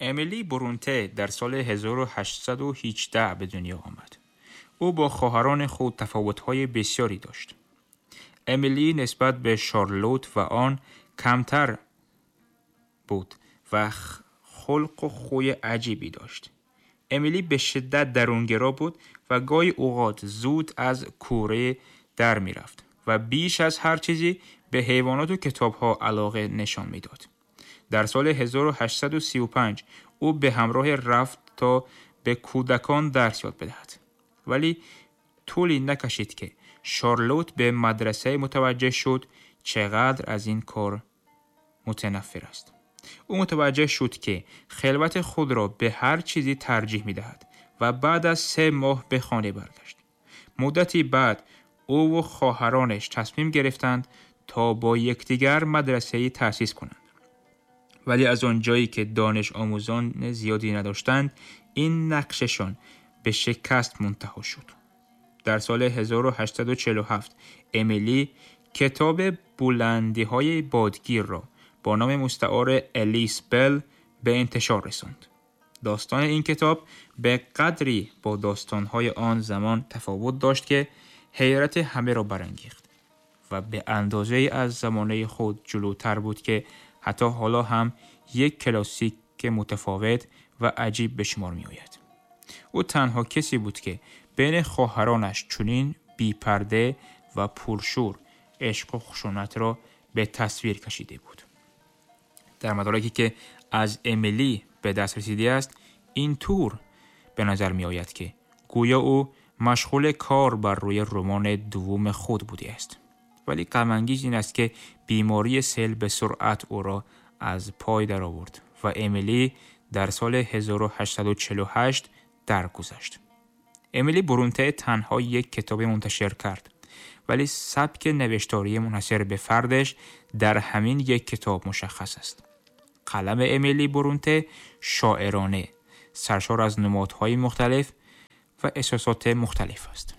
امیلی برونته در سال 1818 به دنیا آمد. او با خواهران خود تفاوت‌های بسیاری داشت. امیلی نسبت به شارلوت و آن کمتر بود و خلق و خوی عجیبی داشت. امیلی به شدت درونگرا بود و گاهی اوقات زود از کوره در میرفت و بیش از هر چیزی به حیوانات و کتابها علاقه نشان میداد. در سال 1835 او به همراه رفت تا به کودکان درس یاد بدهد. ولی طولی نکشید که شارلوت به مدرسه متوجه شد چقدر از این کار متنفر است. او متوجه شد که خلوت خود را به هر چیزی ترجیح می دهد و بعد از 3 ماه به خانه برگشت. مدتی بعد او و خواهرانش تصمیم گرفتند تا با یکدیگر مدرسه‌ای تأسیس کنند. ولی از آنجایی که دانش آموزان زیادی نداشتند، این نقششان به شکست منتهی شد. در سال 1847 امیلی کتاب بلندی‌های بادگیر را با نام مستعار الیس بل به انتشار رساند. داستان این کتاب به قدری با داستان‌های آن زمان تفاوت داشت که حیرت همه را برانگیخت و به اندازه‌ای از زمانه خود جلوتر بود که حتی حالا هم یک کلاسیک متفاوت و عجیب به شمار می آید. او تنها کسی بود که بین خواهرانش چنین بی‌پرده و پرشور عشق و خشونت را به تصویر کشیده بود. در مدارکی که از امیلی به دست رسیده است، این طور به نظر می آید که گویا او مشغول کار بر روی رمان دوم خود بوده است. ولی غم انگیز این است که بیماری سل به سرعت او را از پای در آورد و امیلی در سال 1848 درگذشت. امیلی برونته تنها یک کتاب منتشر کرد، ولی سبک نوشتاری منحصر به فردش در همین یک کتاب مشخص است. قلم امیلی برونته شاعرانه، سرشار از نمادهای مختلف و احساسات مختلف است.